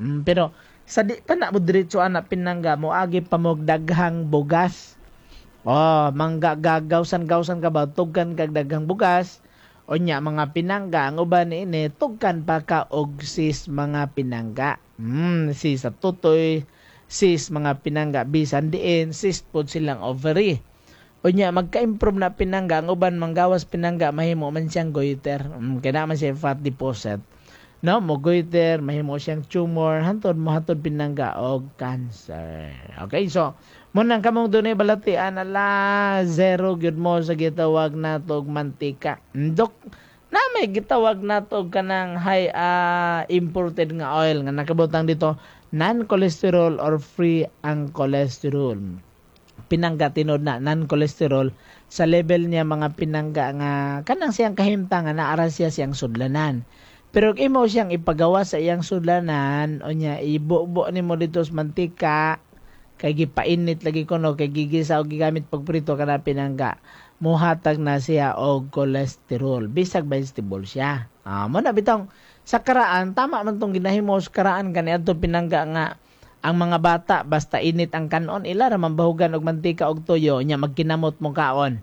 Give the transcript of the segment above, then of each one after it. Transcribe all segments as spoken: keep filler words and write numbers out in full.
Mm, pero sa di pa na mo diretso ana, pinangga, moagi pa mo daghang bugas. Oh, mangga gagawsan-gawsan ka ba, tugkan kag daghang bugas. Unya mga pinangga, ang uban niini tugkan pa ka og cyst, mga pinangga. Mm, cyst sa tutoy, cyst, mga pinangga, bisan diin, cyst pod silang ovary. Unya magka-improve na, pinangga, ang uban manggawas, pinangga, mahimo man siyang goiter. Mm, kaya man siya fat deposit. No, mo goiter, mahimo siyang tumor, hantod mo hatod, pinangga, og cancer. Okay, so mo nang kamong dunay balatian, ala zero gyud mo sa gitawag nato og mantika. Dok, na may gitawag nato og kanang high uh, imported nga oil nga nakabutang dito non-cholesterol or free ang cholesterol. Pinangga, tinod na non-cholesterol sa level niya, mga pinangga, nga kanang siyang kahimtang nga naara siya siyang sudlanan. Pero kung imo siyang ipagawa sa iyang sudlanan, unya ibubo nimo dito sa mantika kay gipainit lagi kuno, kay gigisa o gigamit pagprito kana, pinangga, muhatag na siya og cholesterol bisag vegetable siya. Ah, mo na bitong sa karaan, tama man tong ginahimo sa karaan kaniadto, pinangga, nga ang mga bata basta init ang kanon, ila ra man bahugan og mantika og tuyo, nya magkinamot mo kaon.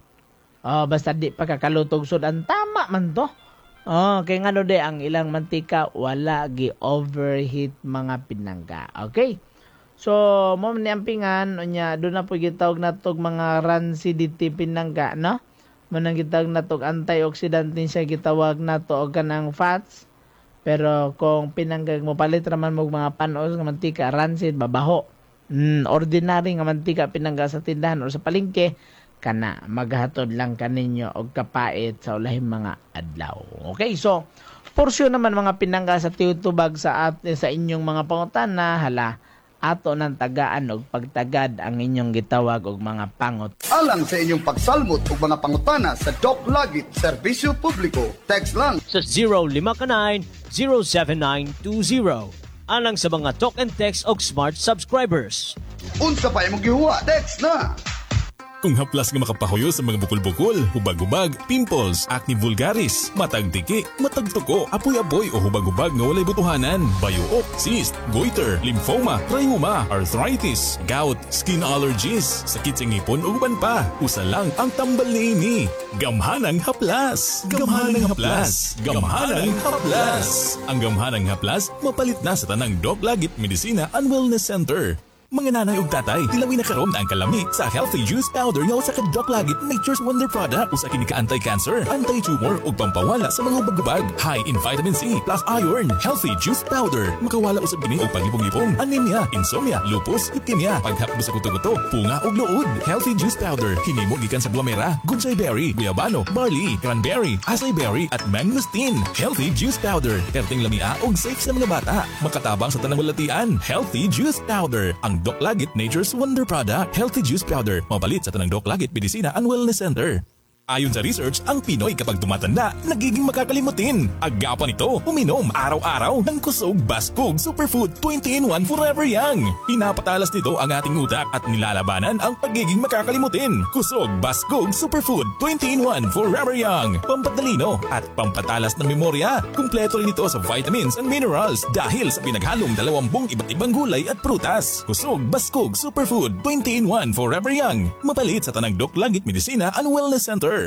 Oh, basta di pa kakalutog sudan, tama man to. Oh, kay ngano de ang ilang mantika wala gi overheat, mga pinangga. Okay. So, mo ni ampingan, unya do na po gitawag natog mga rancidity, pinangga, no? Mo nang gitawag natog antioxidant din siya gitawag nato og kanang fats. Pero kung pinangga mo palit raman mo mga panos nga mantika, rancid, babaho. Mm, ordinary nga mantika, pinangga, sa tindahan o sa palengke, kana maghatod lang kaninyo og kapait sa ulahing mga adlaw. Okay, so porsyon naman, mga pinangga, sa tiyutubag sa at, sa inyong mga pangutana, hala ato ng tagaan og pagtagad ang inyong gitawag og mga pangot. Alang sa inyong pagsalmot og mga pangutana sa Doc Lagit Serbisyo Publiko. Text lang sa zero five nine, zero seven nine two zero. Alang sa mga Talk and Text og Smart subscribers. Unsa pa imong gihuwa? Text na. Kung haplas nga makapahuyo sa mga bukol-bukol, hubag-hubag, pimples, acne vulgaris, matag tiki, matag tuko, apoy-apoy o hubag-hubag nga walay butuhanan, bayuok, cyst, goiter, lymphoma, rheuma, arthritis, gout, skin allergies, sakit sa ngipon ug uban pa. Usa lang ang tambal niini. Gamhanang haplas. Gamhanang haplas. Gamhanang haplas. Ang gamhanang haplas mapalit na sa tanang Doc Lagit Medisina and Wellness Center. Mga nanay ug tatay, tilawi na karon ang kalami sa Healthy Juice Powder nga usa ka Doc Lagit Nature's Wonder product. Usa kini ka anti-cancer, anti-tumor ug pampawala sa mga hubag-hubag. High in vitamin C plus iron. Healthy Juice Powder. Makawala usab kini og paglipong-lipong, anemia, insomnia, lupus, leukemia, paghapdos sa kuto-kuto, punga ug luod. Healthy Juice Powder. Hinimo gikan sa guamera, goji berry, guyabano, barley, cranberry, acai berry at mangosteen. Healthy Juice Powder. Perting lamia ug safe sa mga bata. Makatabang sa tanang balatian. Healthy Juice Powder. Ang Doc Lagit Nature's Wonder Product. Healthy Juice Powder. Mapalit sa tanang Doc Lagit Medisina and Wellness Center. Ayon sa research, ang Pinoy kapag tumatanda, nagiging makakalimutin. Agapan ito, uminom araw-araw ng Kusog Baskog Superfood twenty in one Forever Young. Pinapatalas nito ang ating utak at nilalabanan ang pagiging makakalimutin. Kusog Baskog Superfood twenty in one Forever Young. Pampatalino at pampatalas ng memorya. Kumpleto rin ito sa vitamins and minerals dahil sa pinaghalong dalawampung iba't ibang gulay at prutas. Kusog Baskog Superfood twenty in one Forever Young. Mapalit sa Tanang Doc Langit Medisina and Wellness Center.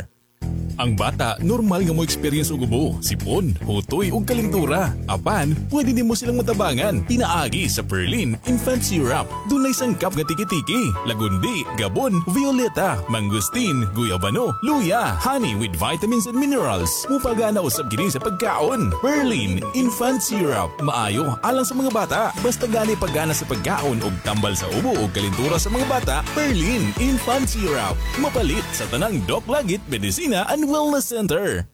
Ang bata, normal nga mo experience og ubo, sipon, hutoy ug kalintura. Apan, pwede nimo silang matabangan. Pinaagi sa Perlin Infant Syrup. Dunay sangkap nga tiki-tiki, lagundi, gabon, violeta, mangosteen, guyabano, luya, honey with vitamins and minerals. Mupagana usab kini sa pagkaon. Perlin Infant Syrup. Maayo alang sa mga bata. Basta gani paggana sa pagkaon ug tambal sa ubo ug kalintura sa mga bata, Perlin Infant Syrup. Mapalit sa tanang Doc Lagit Medisina and Wellness Center.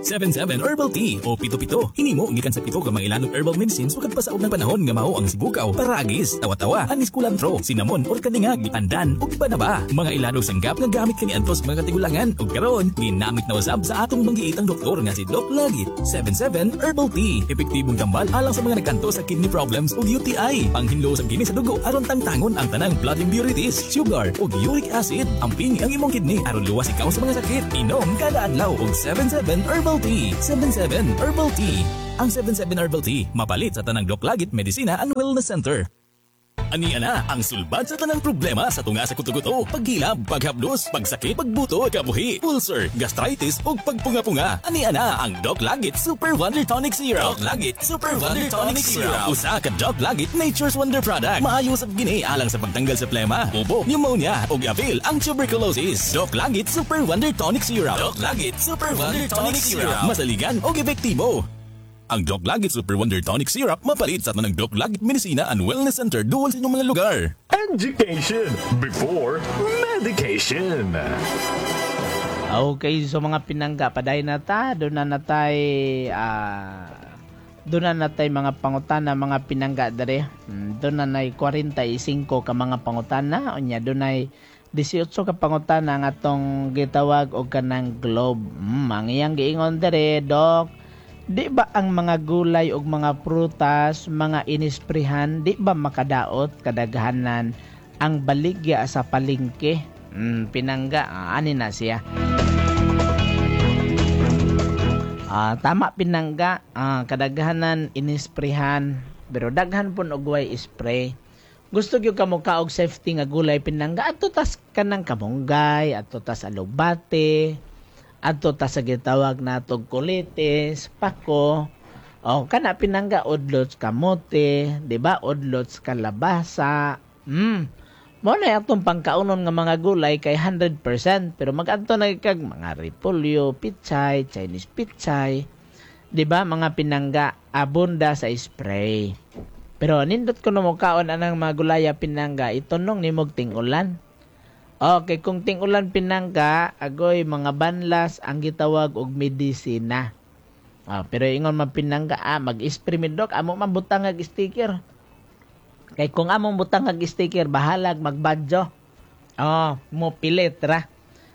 seven seven Herbal Tea o pito-pito. Hinimo gikan sa pito ka mga ilanog herbal medicines sukad pa sa unang panahon nga mao ang sibukaw, paragis, tawa-tawa, anis kulantro, cinnamon or kaningag, pandan ug iba na ba. Mga ilanog sanggap nga gamit kaniadto sa mga katigulangan ug karon ginamit na usab sa atong manggiitang doktor nga si Doc Lagit. seven seven Herbal Tea, epektibong tambal alang sa mga nagkanto sa kidney problems ug U T I. Panghinlo sa kini sa dugo aron tangtangon ang tanang blood impurities, sugar ug uric acid. Amping ang imong kidney aron luwas ikaw sa mga sakit. Inom kada adlaw og seven seven Herbal Tea. seven seven Herbal Tea. Ang seven seven Herbal Tea, mapalit sa Tanang Doc Lagit Medisina and Wellness Center. Ani ana ang sulbad sa tanang problema sa tunga sa kuto-kuto, paghilab, paghapdos, pagsakit, pagbuto, kabuhi, ulcer, gastritis ug pagpunga-punga. Ani ana ang Doc Lagit Super Wonder Tonic Syrup. Doc Lagit Super Wonder Tonic Syrup. Usa ka Doc Lagit Nature's Wonder product. Maayo sab gini alang sa pagtanggal sa plema, ubo, pneumonia ug apil ang tuberculosis. Doc Lagit Super Wonder Tonic Syrup. Doc Lagit Super Wonder Tonic Syrup. Masaligan og epektibo. Ang Doc Lagit Super Wonder Tonic Syrup mapalit sa tanang Doc Lagit Medisina and Wellness Center duol sa inyong mga lugar. Education before medication. Okay, so mga pinangga, paday na ta, doon na natay, ah, doon na natay mga pangutana, mga pinangga dere. Hmm, doon na nay kwarenta y singko ka mga pangutana, unya doon ay labing walo ka pangutana nga atong gitawag og kanang Globe. Hmm, ang iyang giingon dere, "Dok, di ba ang mga gulay ug mga prutas, mga inisprehan, di ba makadaot kadaghanan ang baligya sa palengke?" Hmm, pinangga, ah, ani na siya. Ah, tama pinangga, ah, kadaghanan inisprehan, pero daghan pun og way spray. Gusto gyud ka mo kaog safety nga gulay, pinangga, adto tas kanang kamunggay, adto tas alugbate, adto tas sa gitawag natog kulitis, pako. O kana pinangga, udlots kamote, di ba? Udlots kalabasa. Mm. Mo na atong pangkaunon nga mga gulay kay one hundred percent, pero mag-adto na kag mga repolyo, pichay, Chinese pichay. Di ba mga pinangga, abunda sa spray. Pero nindot ko mo kaon anang mga gulaya, pinangga, itunong nimog ting-ulan. Okay, kung ting-ulan, pinangga, agoy mga banlas ang gitawag og medisina. Ah, pero ingon man pinangga, ah, mag-spray mi, Dok, amo man butang ag sticker. Kay kung among butang ag sticker, bahalag magbadyo. Oh, mo pilit ra.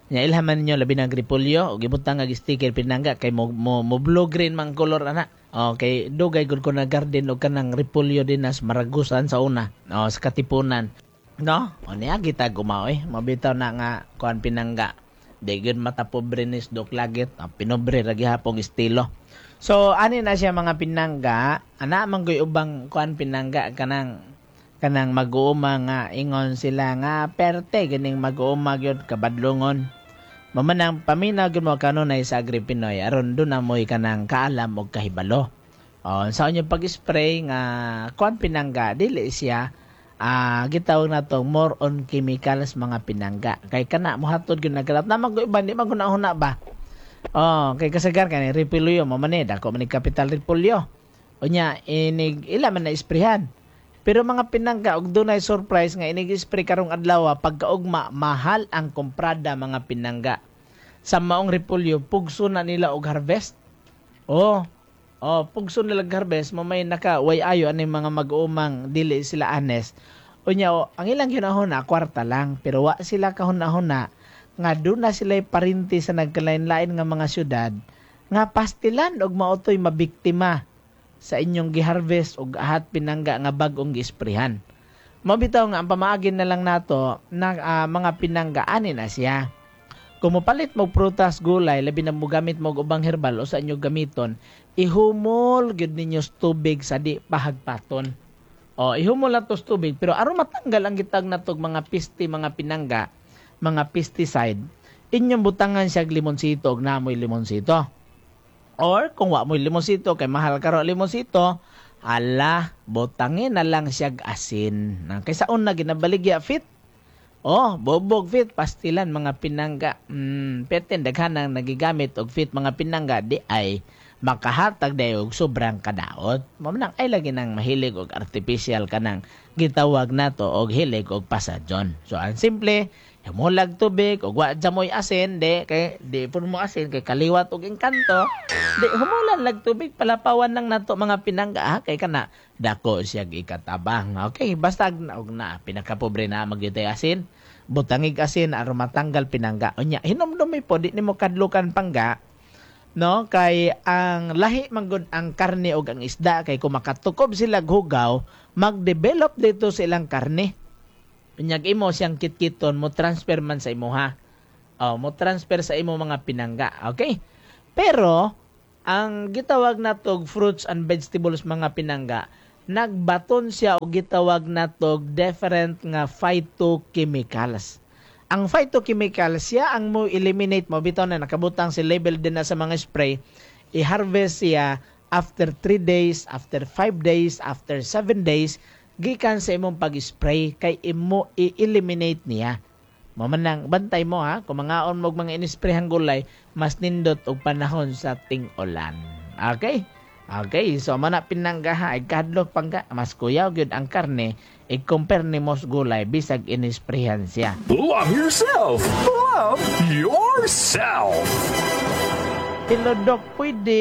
Nya ilhaman ninyo labi ng repolyo og ibutang ag sticker, pinangga, kay mo, mo, mo blue green mang color ana. Okay, dugay gud ko na garden og kanang repolyo din nas Maragusan sa una. Oh, sa Katipunan. No? O niya kita gumaw eh. Mabitaw na nga kuan, pinangga. Di gyud mata pobre ni Dok Lagit. Ah, pinobre ra gihapong estilo. So ani na siya mga pinangga, ana man goy ubang kuan, pinangga, kanang kanang mag-uuma nga ingon sila nga perte ganing mag-uuma gyud kabadlongon. Mamanang paminaw gyud mo kanunay sa Agri Pinoy aron doon na mo'y kanang kaalam og kahibalo. O, sa inyo pag-spray nga kuan, pinangga, dili siya ah gitawag na to more on chemicals, mga pinangga, kay kana mohatod gyud nagkalat na mag iba di man huna ba. Oh, kay kasagar kani repolyo mo man eh, dako man ni capital repolyo. Unya inig ila man na isprehan. Pero mga pinangga, og dunay surprise nga inig spray karong adlaw, pagkaugma mahal ang komprada, mga pinangga. Sa maong repolyo, pugso na nila og harvest. Oh, oh, pugso nila og harvest, mo may naka way ayo ani mga mag-uumang dili sila honest. Unya oh, ang ilang ginahuna kwarta lang, pero wa sila kahuna-huna nga doon na sila parinti sa nagkalain-lain nga mga syudad nga pastilan og maotoy mabiktima sa inyong giharvest og ahat, pinangga, nga bag-ong giesprehan. Mabitaw nga ang pamaagin na lang nato na ah, mga pinangga, ani na siya. Kung mopalit mo prutas, gulay, labi na mogamit mo og ubang herbal o sa inyo gamiton, ihumol gyud ninyo sa tubig sa di pahagpaton. O, ihumol na to sa tubig, pero aron matanggal ang gitag natog mga piste, mga pinangga, mga pesticide, inyong butangan siya og limonsito og namoy limonsito. Or kung wa mo'y limonsito kay mahal karon limonsito, ala, butangin na lang siya asin. Na kaysa una ginabaligya fit. Oh, bobog fit pastilan, mga pinangga. Mm, peten daghan ang nagigamit og fit, mga pinangga, di ay makahatag dayo og sobrang kadaot. Mao nang ay lagi nang mahilig og artificial kanang gitawag nato og hilig og pasadyon. So ang simple, humulag tubig og wa mo'y asin, di kay di pud mo asin kay kaliwat og engkanto. Di humulan lag tubig, palapawan lang nato, mga pinangga, ha, kay kana dako siya ikatabang. Okay, basta og na pinakapobre na magyutay asin. Butangig asin aron matanggal, pinangga. Unya hinumdumi po di nimo kadlukan, pangga, no, kay ang lahi manggod ang karne og ang isda, kay kung makatukob sila hugaw, magdevelop dito sa ilang karne. Unyag imo siyang kitkiton, mo transfer man sa imuha. Oh, mo transfer sa imo, mga pinangga. Okay, pero Ang gitawag natog fruits and vegetables mga pinangga, nagbaton siya og gitawag natog different nga phytochemicals. Ang phytochemicals siya ang mo eliminate mo bitaw na nakabutang si label din na sa mga spray, i-harvest siya after three days, after five days, after seven days gikan sa imong pag-spray kay imo i-eliminate niya. Mo man nang bantay mo ha, kung mangaon mo og mga inisprayhang gulay, mas nindot og panahon sa ting-ulan. Okay? Okay, so mana pinangga ha, ay kadlok pangga, mas kuyaw gyud ang karne i-compare nimo sa gulay bisag inisprayhan siya. Love yourself. Love yourself. Hello Doc, pwede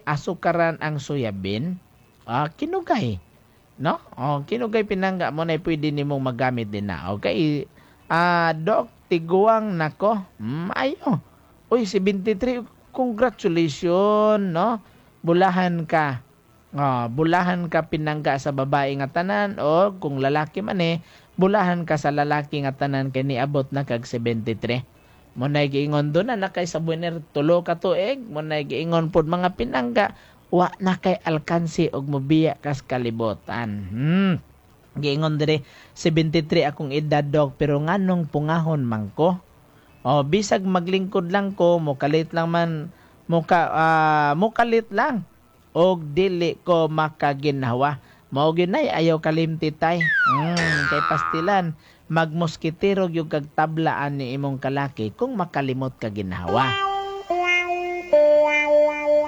asukaran ang soya bean? Ah, kinugay. No? Oh, kinugay pinangga mo na pwede nimong magamit din na. Okay. Ah, Doc, tiguang nako. Mm, ayo. Uy, seventy-three, congratulations, no? Bulahan ka. Oh, bulahan ka pinangga sa babae nga tanan o kung lalaki man eh, bulahan ka sa lalaki nga tanan kay niabot na kag seventy-three. Mo nay giingon do na na kay sa buener tulo ka tuig, mo nay giingon pod mga pinangga, wa na kay alkansi og mobiya kas kalibutan. Hmm. Giingon dire seventy-three akong edad dog, pero nganong pungahon man ko? O bisag maglingkod lang ko, mokalit lang man, moka, uh, mokalit lang og dili ko makaginhawa. Mao gyud nay ayaw kalimti tay. Mm, kay pastilan magmoskitero gyud kag tablaan ni imong kalaki kung makalimot ka ginhawa.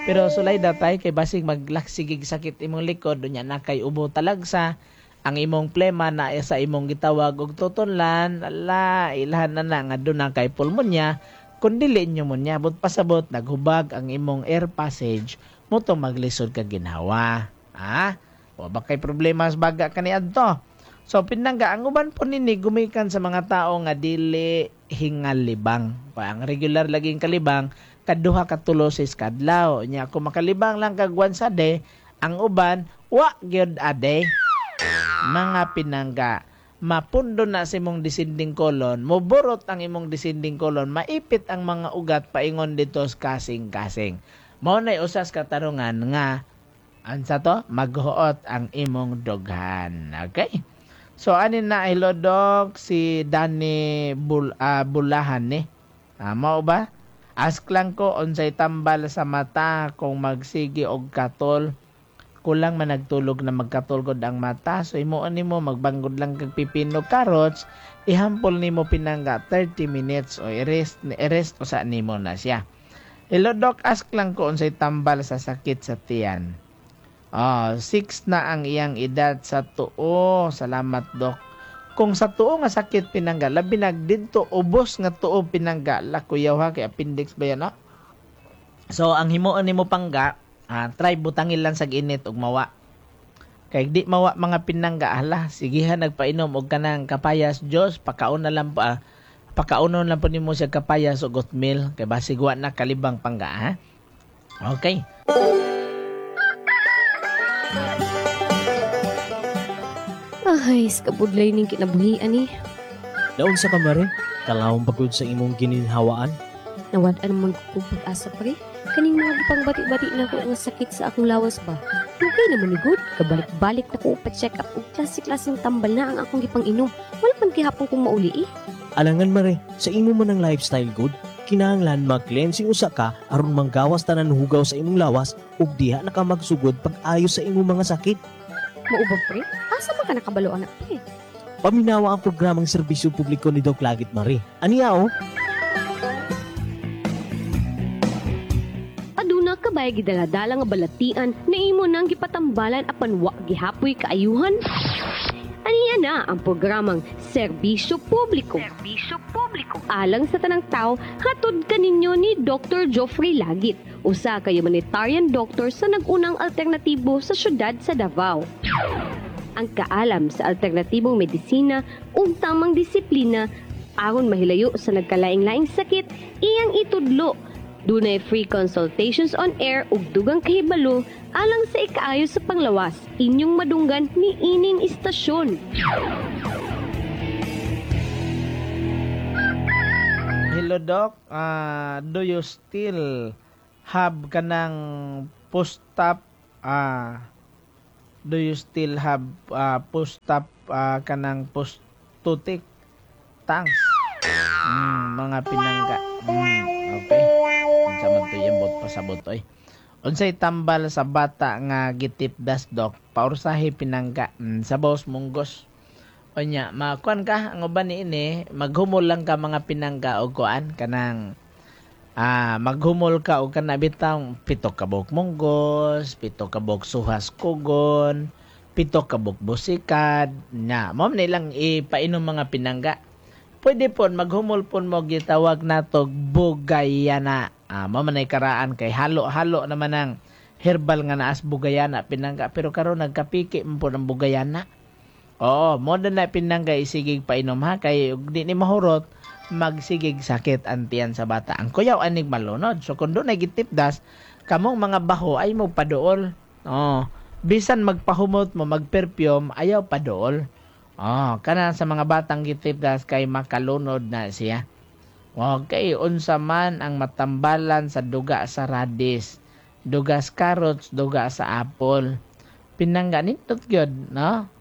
Pero sulay datay kay basig maglaksigig sakit imong likod unya na kay ubo talagsa ang imong plema na sa imong gitawag og tutunlan, ala ilhan na na nga duna kay pulmonya kun dili pneumonia but pasabot naghubag ang imong air passage muto maglisod ka ginhawa. Ah, wa ba kay problema sa baga kaniadto? So pinangga ang uban po nini gumikan sa mga tao nga dili hingalibang. Pa ang regular laging kalibang kaduha ka tulo sa kadlaw. Nya kung makalibang lang kag once a day, ang uban wa gyud a day. Mga pinangga, mapundo na sa imong descending colon, moborot ang imong descending colon, maipit ang mga ugat paingon dito sa kasing-kasing. Mao nay usas katarungan nga ansa to maghuot ang imong dughan. Okay? So ani na hello Doc si Danny Bul, uh, Bulahan ni. Ah, mao ba? Ask lang ko unsay tambal sa mata kung magsige og katol. Kulang man nagtulog na magkatulgod ang mata. So imuon nimo magbanggod lang kag pipino carrots, ihampol nimo pinangga thirty minutes o i-rest, i-rest usa nimo na siya. Hello Doc, ask lang ko unsay tambal sa sakit sa tiyan. Ah, six na ang iyang edad sa tuo. Salamat Doc. Kung sa tuo nga sakit pinangga, labi nag didto ubos nga tuo pinangga, lakuyaw ha kay appendix ba yan, no? So ang himuon nimo pangga, ah, try butangil lang sa init ug mawa. Kay di mawa mga pinangga, hala, sigihan nagpainom og kanang kapayas Diyos, pakaon na lang pa, pakaunon lang po nimo siya kapayas ug oatmeal kay basig wa na kalibang pangga, ha? Okay. Ay, skabudlay ning kinabuhian eh. Naunsa ka mare? Kalawang pagod sa imong gininhawaan? Nawad-an man ko pag-asa pre. Kaning mga gipang bati-bati na ko nga sakit sa akong lawas ba? Dugay naman ni good. Kabalik-balik na ko pa-check up og klase-klaseng tambal na ang akong gipang inom. Wala man gihapon kong mauli eh. Alangan mare, sa imo man ang lifestyle good, kinahanglan mag-cleansing usa ka aron manggawas tanan hugaw sa imong lawas ug diha na ka magsugod pag-ayo sa imong mga sakit. Mao ba pre? Asa man ka nakabalo anak pre? Paminawa ang programang serbisyo publiko ni Doc Lagit Mare. Aniya oh? Aduna ka bay gidaladala nga balatian na imo nang gipatambalan apan wa gihapoy kaayuhan? Aniya na ang programang Serbisyo Publiko. Serbisyo Publiko. Alang sa tanang tao, hatod kaninyo ni Doctor Joffrey Lagit, usa ka humanitarian doctor sa nag-unang alternatibo sa syudad sa Davao. Ang kaalam sa alternatibong medisina ug tamang disiplina aron mahilayo sa nagkalaing-laing sakit, iyang itudlo. Dunay free consultations on air ug dugang kahibalo alang sa ikaayo sa panglawas. Inyong madunggan ni ining istasyon. Hello Doc, uh, do you still have kanang post-op ah do you still have uh, post-op uh, kanang post-tutik? Thanks. Mm, mga pinangga. Mm, okay. Unsa man to yung bot pasabot oy. Unsay tambal sa bata nga gitipdas dok? Paursahi pinangga. Mm, sa boss munggos. Unya, makuan ka ang uban niini, maghumol lang ka mga pinangga og kuan kanang ah maghumol ka og kana bitang pito ka buok munggos, pito ka buok suhas kugon, pito ka buok busikad. Nya, mao man ilang ipainom mga pinangga. Pwede pon maghumol pon mo gitawag nato bugayana. Ah, mao man ay karaan kay halo-halo naman ang herbal nga naas bugayana pinangga pero karon nagkapiki man pud ang bugayana. Oo, mo na na pinangga isigig painom ha kay ug di ni mahurot magsigig sakit ang tiyan sa bata. Ang kuyaw anig malunod. So kung doon ay gitipdas, kamong mga baho ay mo paduol. Oh, bisan magpahumot mo magperfume ayaw paduol. Oh, kana sa mga batang gitipdas kay makalunod na siya. Okay, unsa man ang matambalan sa duga sa radis, duga sa carrots, duga sa apple. Pinangga nindot gyud, no?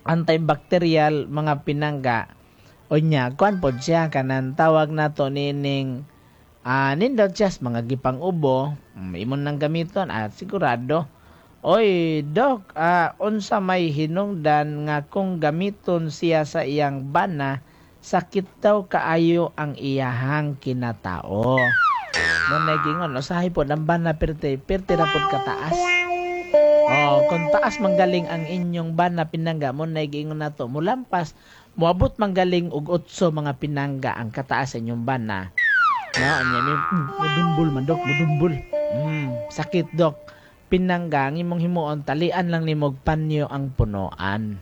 Antibacterial mga pinangga. Unya, kuan pod siya kanan tawag nato nining ah nindot siya sa mga gipang ubo, mm, imon nang gamiton at sigurado. Oy, dok, ah, unsa may hinungdan nga kung gamiton siya sa iyang bana, sakit daw kaayo ang iyahang kinatao. Mo nagingon, usahay pod ang bana pirti, pirti ra pod kataas. Oh, kung taas manggaling ang inyong bana pinangga mo nagingon nato, mulampas, moabot manggaling og otso mga pinangga ang kataas sa inyong bana. No, anya mi mm, mudumbol man dok, mudumbol. Mm, sakit dok. Pinangga ang imong himuon talian lang nimo og panyo ang punoan.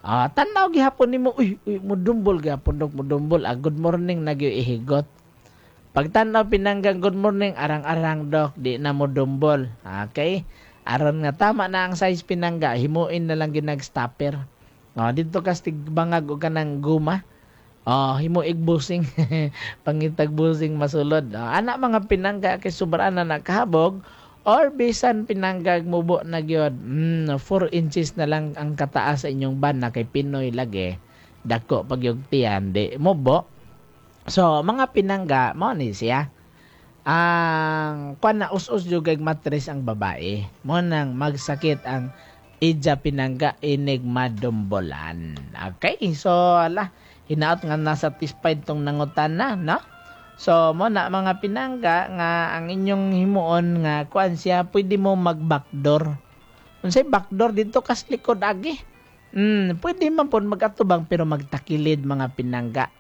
Ah, tan-aw gihapon nimo, uy, uy mudumbol gihapon dok, mudumbol. Ah, good morning na gyud ihigot. Pagtan-aw pinangga good morning arang-arang dok, di na mudumbol. Okay? Aron nga tama na ang size pinangga, himuin na lang gyud nag-stopper. Oh, dito ka bangag og kanang guma. Oh, himo busing. Pangitag busing masulod. Oh, ana mga pinangga kay sobra na nakahabog or bisan pinanggag mubo na gyud. Mm, four inches na lang ang kataas sa inyong bana kay Pinoy lagi. Dako pag yung tiyan di mubo. So, mga pinangga mao ni siya. Ang kuan na us-us jud kay matres ang babae. Mo nang magsakit ang ija pinangga inig madumbolan. Okay, so ala hinaot nga na-satisfied tong nangutana, no? So mo na mga pinangga nga ang inyong himuon nga kuan siya pwede mo mag backdoor. Unsay backdoor dito kas likod agi. Mm, pwede man pud magatubang pero magtakilid mga pinangga.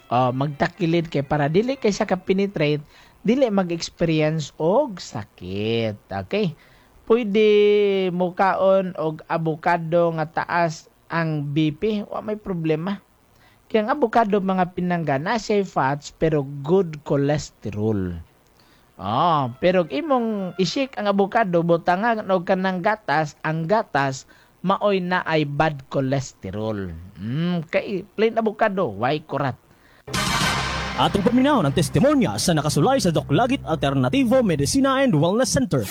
Oh, magtakilid kay para dili kay siya ka penetrate, dili mag-experience og sakit. Okay? Pwede mukaon og abokado nga taas ang B P, wa may problema. Kaya ang abokado mga pinangga na siya fats pero good cholesterol. Oh, pero imong i-shake ang abokado butangan og kanang gatas, ang gatas maoy na ay bad cholesterol. Mm, kay plain abokado, why kurat. Atong paminaw ng testimonya sa nakasulay sa Doc Lagit Alternativo Medicina and Wellness Center.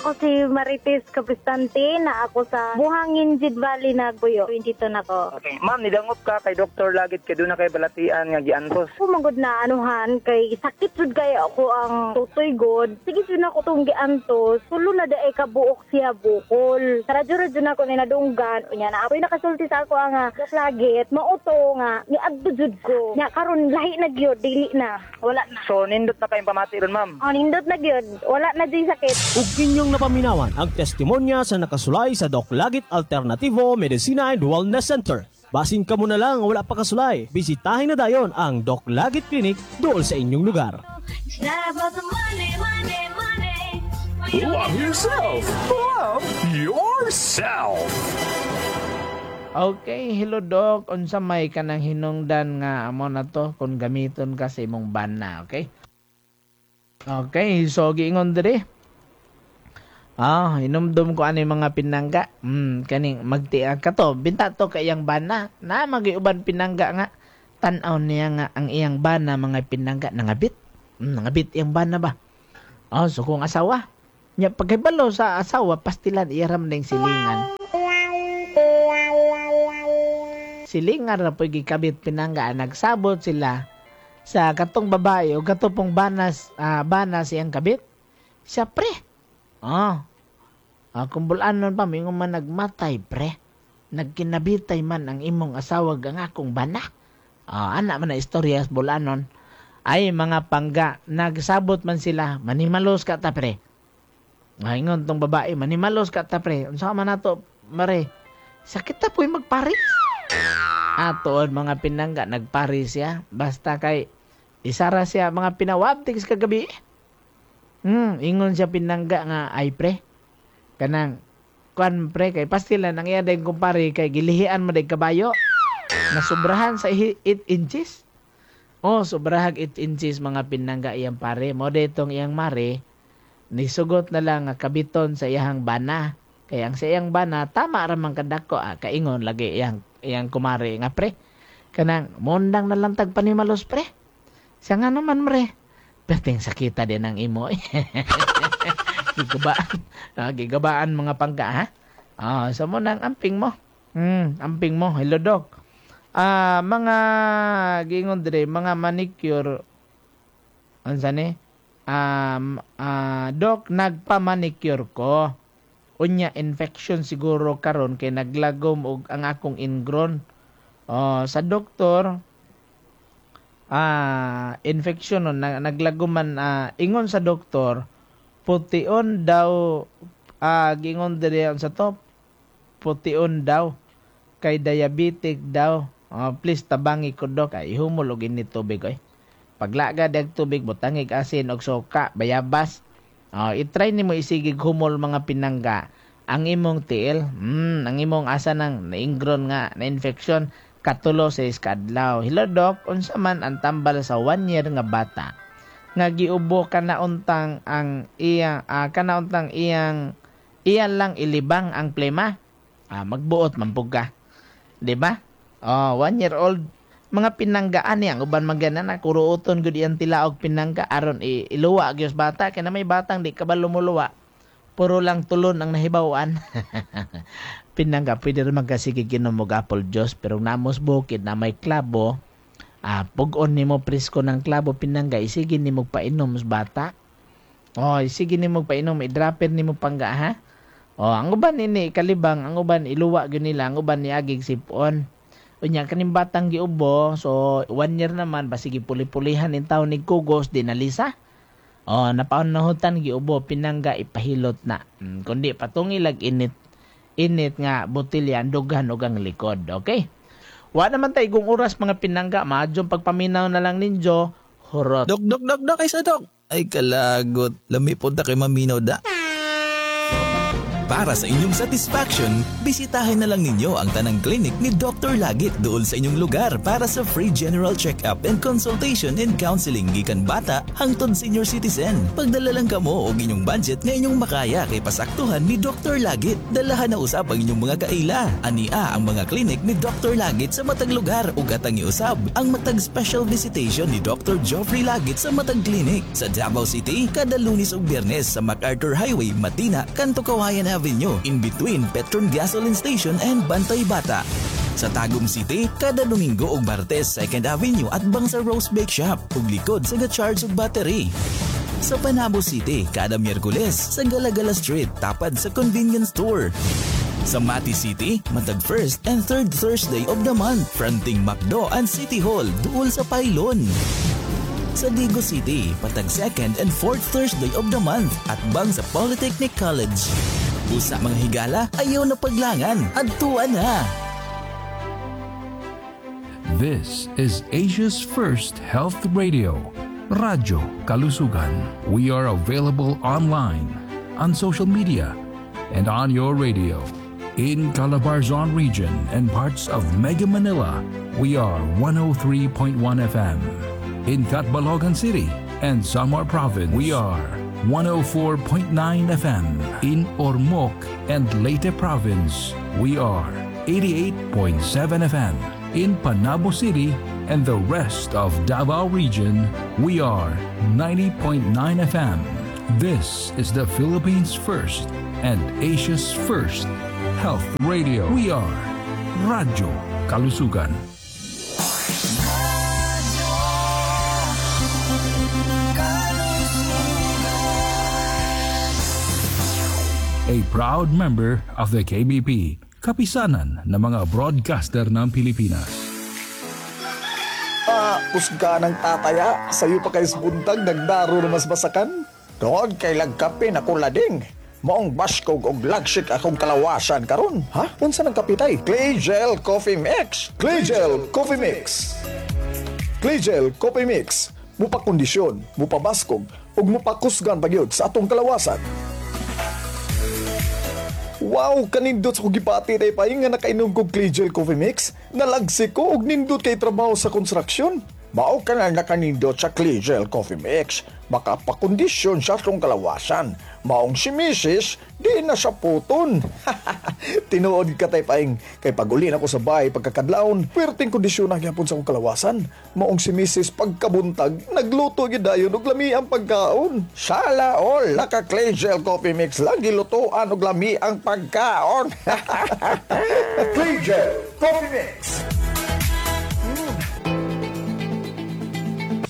Ako si Marites Capristante na ako sa Buhangin Jid Valley na Guyo. twenty-two na ko. Okay. Ma'am, nidangop ka kay Doctor Lagit kay doon na kay balatian nga giantos. Pumagod na anuhan kay sakit jud kay ako ang tutoy god. Sige jud ako tong giantos. Tulo na daay ka buok siya bukol. Sa radyo-radyo na ako ni nadunggan. Unya na ako'y nakasulti sa ako ang Doc Lagit. Mauto nga niadto jud ko. Nya karon lahi na gyud dili na. Wala na. So nindot na kayong pamati ron, ma'am. Oh, nindot na gyud. Wala na jud sakit. Ug inyong napaminawan ang testimonya sa nakasulay sa Doc Lagit Alternativo Medicina and Wellness Center. Basin ka muna lang wala pa kasulay. Bisitahin na dayon ang Doc Lagit Clinic dool sa inyong lugar. Love yourself. Love yourself. Okay, hello Doc. Unsa may kanang hinungdan nga amo na to kung gamiton ka sa imong bana, okay? Okay, so giingon diri. Ah, hinumdum ko ano yung mga pinangga. Hmm, kaning magtiag ka to. Binta to kay iyang bana. Na magiuban pinangga nga. Tan-aw niya nga ang iyang bana mga pinangga nangabit. Mm, nangabit iyang bana ba? Oh, so kung asawa. Nya pagkahibalo sa asawa, pastilan iyaram ning silingan. Silingan ra po'y gikabit pinangga. Nagsabot sila sa katong babae o katong banas, uh, banas iyang kabit. Siya pre. Oh. Ah, kung bulanon pa, mingon man nagmatay pre. Nagkinabitay man ang imong asawa ang akong bana. Ah, ana man na istorya sa bulanon. Ay mga pangga, nagsabot man sila, manimalos ka ta pre. Ay, ingon tong babae, manimalos ka ta pre. Unsa man nato, mare? Sakit ta po'y magparis. Atoon mga pinangga, nagparis siya. Basta kay isara siya mga pinawabtigs kagabi. Hmm, ingon siya pinangga nga ay pre. Kanang kuan pre kay pastilan ang iya dayong kumpare kay gilihian mo day kabayo. Nasubrahan sa eight inches. Oh, sobrahag eight inches mga pinangga iyang pare. Mo detong iyang mare nisugot na lang nga kabiton sa iyang bana. Kay ang sa iyang bana tama ra man kadako ah, kaingon lagi iyang iyang kumare nga pre. Kanang mondang na lang tag panimalos pre. Siya nga naman mare. Perting sakita din ang imo. Gigabaan. Ah, gigabaan mga pangga ha. Ah, sa mo nang amping mo. Hmm, amping mo. Hello dog. Ah, mga gingon dire, mga manicure unsa ni? Um, ah, dok nagpa-manicure ko. Unya infection siguro karon kay naglagom og ang akong ingrown. Oh, sa doktor ah infection no, naglagom man ah, ingon sa doktor pution daw ah, gingon dire sa to pution daw kay diabetic daw. Oh, please tabangi ko dok ay humol og init tubig oy. Paglaga dag tubig butangig asin og suka bayabas. Oh, i-try nimo isigig humol mga pinangga ang imong tiil. Mm, ang imong asa nang naingron nga na infection katulo sa iskadlaw. Hello dok, unsa man ang tambal sa one year nga bata nga giubo kanauntang ang iyang uh, kanauntang iyang iyan lang ilibang ang plema? Ah, magbuot man pug ka. Di ba? Oh, one year old mga pinanggaan niya ang uban magana na kuruoton gud iyang tilaog pinangga aron iluwa gyud bata kay na may batang di kabalo moluwa. Puro lang tulon ang nahibaw-an. Pinangga pwede ra magkasige ginom og apple juice pero namos bukid na may klabo. Ah, pug-on nimo presko ng klabo pinangga isige nimo painom sa bata. Oh, isige nimo painom, i-dropper nimo pangga ha. Oh, ang uban ini kalibang, ang uban iluwa gyud nila, ang uban niagig sipon. Unya kaning batang giubo, so one year naman basig puli-pulihan nin taon ni kugos di nalisa. Oh, napaon-nahutan giubo pinangga ipahilot na. Hmm, kundi patungi lag init init nga botelya dughan og ang likod. Okay? Wa naman tay igong oras mga pinangga, maadyong pagpaminaw na lang ninyo. Hurot. Dok dok dok dok ay sa dok. Ay kalagot, lami pod ta kay maminaw da. Para sa inyong satisfaction, bisitahin na lang ninyo ang tanang clinic ni Doctor Lagit doon sa inyong lugar para sa free general check-up and consultation and counseling gikan bata hangtod senior citizen. Pagdala lang kamo og inyong budget nga inyong makaya kay pasaktuhan ni Doctor Lagit. Dalahan na usab ang inyong mga kaila. Ania ang mga clinic ni Doctor Lagit sa matag lugar ug atang iusab ang matag special visitation ni Doctor Joffrey Lagit sa matag clinic sa Davao City kada Lunes ug Biyernes sa MacArthur Highway, Matina, Kanto Kawayan Avenue, in between Petron Gasoline Station and Bantay Bata. Sa Tagum City, kada Domingo ug Martes, Second Avenue at bang sa Rose Bake Shop ug likod sa ga-charge og battery. Sa Panabo City, kada Miyerkules sa Galagala Street, tapad sa convenience store. Sa Mati City, matag first and third Thursday of the month, fronting McDo and City Hall, duol sa Pylon. Sa Digo City, patag second and fourth Thursday of the month at bang sa Polytechnic College. Usa mga higala, ayaw na paglangan, adtuan na! This is Asia's first health radio, Radyo Kalusugan. We are available online, on social media, and on your radio. In Calabarzon region and parts of Mega Manila, we are one oh three point one F M. In Catbalogan City and Samar Province, we are one oh four point nine F M. In Ormoc and Leyte Province, we are eighty-eight point seven F M. In Panabo City and the rest of Davao Region, we are ninety point nine F M. This is the Philippines' first and Asia's first health radio. We are Radyo Kalusugan. Radyo Kalusugan. A proud member of the K B P, Kapisanan ng mga Broadcaster ng Pilipinas. Ah, kusga ng tataya. Sayo pa kay buntag, nagdaro na mas basakan. Tungod kay lagkape na kulading. Maong baskog og lagsik akong kalawasan karon. Ha? Unsa nang kape, tay? Clay Gel Coffee Mix. Clay Gel Coffee Mix. Clay Gel Coffee Mix. Mupakondisyon, mupabaskog, ug mupakusgan pagyud sa atong kalawasan. Wow, kanindot sa kong gipati, tay Paing, nga nakainom kog Clay Gel Coffee Mix. Nalagsik ko og nindot kay trabaho sa construction. Mao ka na nakanindot sa Clay Gel Coffee Mix. Makapakondisyon sa atong kalawasan. Maong si Missus di na sa puton. Tinuod ka, tay Paing, kay pag-uli na ko sa bahay pagkakadlawon, puwerteng kondisyon na gyapon sa akong kalawasan. Maong si Missus pagkabuntag, nagluto gyud dayon og lami ang pagkaon. Sala all, naka Clay Gel Coffee Mix lang gilutuan og lami ang pagkaon. Clay Gel Coffee Mix.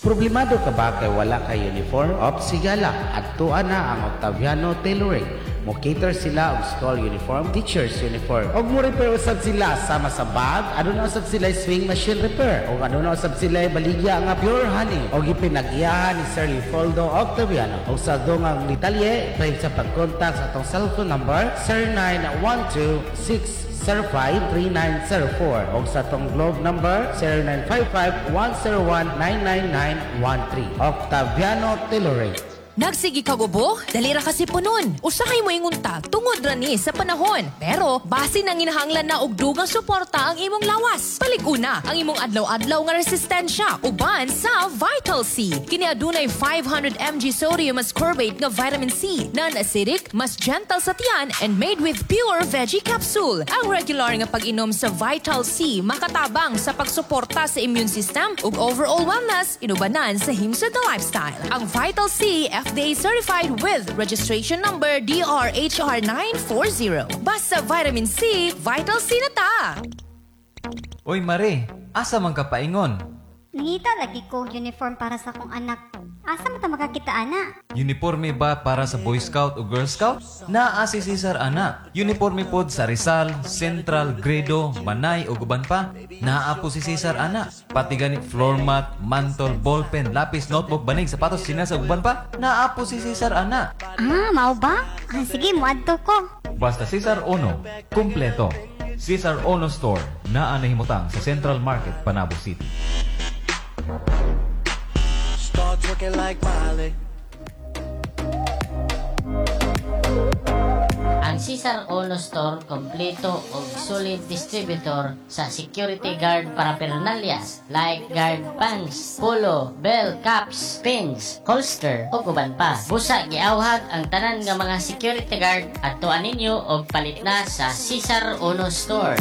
Problemado ka ba kay wala kay uniform? Op sigala, adtuan na ang Octaviano Tailoring. Mo cater sila og school uniform, teachers uniform. Og mo repair usab sila sama sa bag, aduna usab sila sewing machine repair. Og aduna usab sila baligya nga pure honey. Og ipinag-iyahan ni Sir Leopoldo Octaviano. Og sa dungang detalye, pwede sa pag-contact sa atong cellphone number zero nine one two six zero five three nine zero four o sa atong Globe number zero nine five five, one zero one, nine nine nine one three. Octaviano Tailoring. Nagsige kag ubo? Dali ra kasi punon. Usahay mo ingunta, tungod ra ni sa panahon. Pero base nang ginahanglan na og dugang suporta ang imong lawas. Palig-una ang imong adlaw-adlaw nga resistensya uban sa Vital C. Kini adunay five hundred milligrams sodium ascorbate nga vitamin C, non-acidic, mas gentle sa tiyan and made with pure veggie capsule. Ang regular nga pag-inom sa Vital C makatabang sa pagsuporta sa immune system ug overall wellness inubanan sa Himsog na lifestyle. Ang Vital C, F D A certified with registration number D R H R nine four zero. Basta vitamin C, Vital C na ta! Uy Mare, asa man ka paingon? Nangita lagi ko uniform para sa akong anak. Asa man ta makakita ana? Uniforme ba para sa Boy Scout o Girl Scout? Naa si Cesar ana. Uniforme pod sa Rizal, Central, Gredo, Manay o guban pa. Naa po si Cesar ana. Pati gani floor mat, mantol, ballpen, lapis, notebook, banig, sapatos, tsinelas ug uban pa. Naa po si Cesar ana. Ah, mao ba? Ah, sige, muadto ko. Basta Cesar Ono, kumpleto. Cesar Ono Store, naa nahimutang sa Central Market, Panabo City. Start twerking like Miley. Ang Cesar Ono Store kompleto og solid distributor sa security guard paraphernalias like guard pants, polo, bell, caps, pins, holster ug uban pa. Busa giawhag ang tanan nga mga security guard, adtuan ninyo og palit na sa Cesar Ono Store.